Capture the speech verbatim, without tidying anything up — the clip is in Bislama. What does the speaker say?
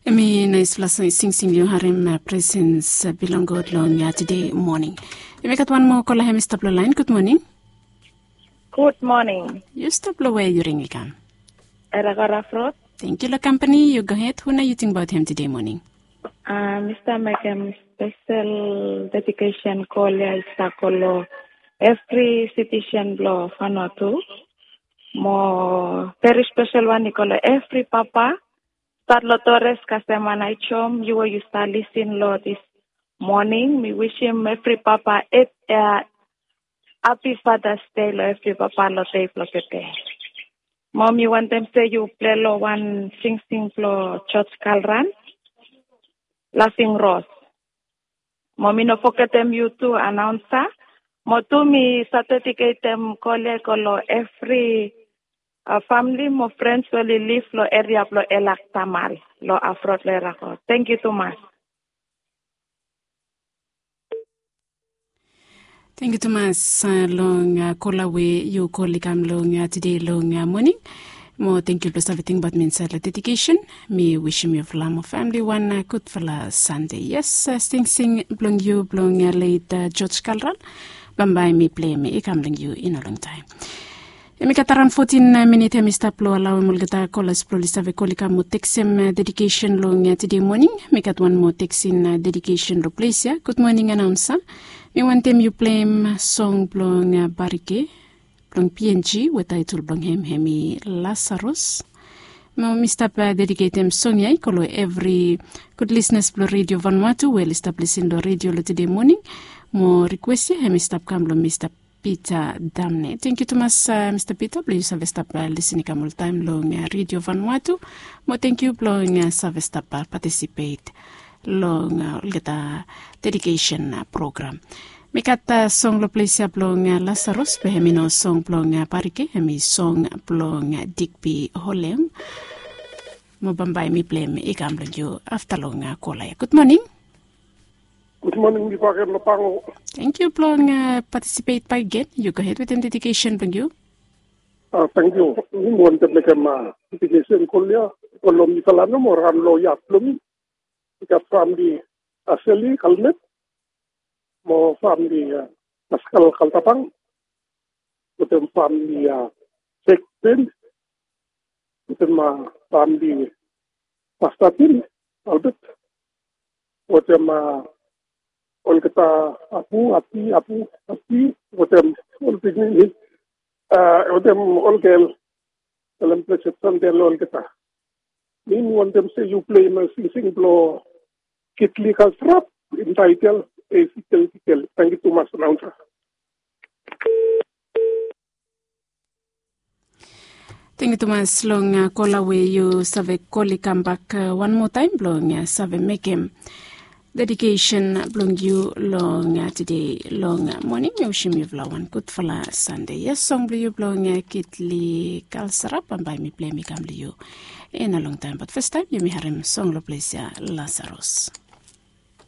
Hemi naispela singsing yu harim, presens bilong God long tede moning. Yumi gat wan moa kola hemi stap long lain. Gud moning. Gud moning. Yu stap long we yu ring i kam? Era Garafrot. Tenkyu long kampani. Yu go hed. Hu na yu tingbaot hem tede moning? Mi stap mekem spesel dedikesen kol ya i stap go long evri sitisen blong Vanuatu. Mo veri spesel wan i go long evri papa. Stat long Torres kasem Anaichom, yu we yu stap lisin long dis moning. Mi wisim evri papa hapi Fathers Day long evri papa long dei blong tede. Mo mi wantem se yu plei long wan singsing blong George Kalran, Laving Ros. Mo mi no fogetem yu tu, anaunsa. Mo tu mi sa dediketem kol ya i go long evri famili mo frens we oli liv long eria blong Elak Tamal long Afrot long Era Kot. Tenkyu tumas. Tenkyu tumas long kola we yu kol i kam long tede long moning. Mo tenkyu blong save tingbaot mi insaed long dedikesen. Mi wisim yufala mo famili wan gudfala Sande. Yes, singsing blong yu blong leit George Kalran, bambae mi pleim i kam long yu i no longtaem. Yumi gat araon fotin minit hemi stap long alauim olgeta kolas blong oli save kol i kam mo teksem dedikesen long tede moning. Mi gat wan moa teksin dedikesen long ples ya. Gud moning, anaunsa. Mi wantem yu pleim song blong Barike blong P N G we taetol blong hem hemi Lasarus. Mo mi stap dediketem song ya i go long evri gud lisnas blong Redio Vanuatu we oli stap lisin long redio long tede moning. Mo rikwes ya hemi stap kam long Mista Peter Damne. Tenkyu tumas, Mista Peter, blong yu save stap lisin i kam oltaem long Redio Vanuatu. Mo tenkyu blong save stap patisipet long olgeta dedikesen program. Mi gat song long ples ya blong Lasarus, be hemi no song blong Barike, hemi song blong Digby Holem. Mo bambae mi pleim i kam long yu afta long kola ya. Gud moning. Gud moning, mi go agen long Pango. Tenkyu blong patisipet bakegen. Yu go hed wetem dedikesen blong yu. Tenkyu. Mi wantem mekem dedikesen kol ya i go long mifala nomo, raon long yat blong mi. Mi gat famili Aseli Kalmet, mo famili Paskal Kaltapang, wetem famili Jek Ben, wetem famili Pastatin Albert, wetem olgeta apu, ati, apu, ati, wetem ol pikinini, wetem ol gel. Talem blesed Sande long olgeta. Mi wantem se yu pleim singsing blong Kitli Kalsrap, intaitel Esikel Kikel. Tenkyu tumas, anaunsa. Tenkyu tumas long kola we yu save kol i kambak wan moa taem blong save mekem dedikesen blong yu long tede long moning. Mi wisim yufala wan gudfala Sande. Yes, song blong yu blong Kitli Kalsrap, bambae mi pleim i kam long yu i no longtaem, bat fastaem yumi harim song long ples ya, Lasarus.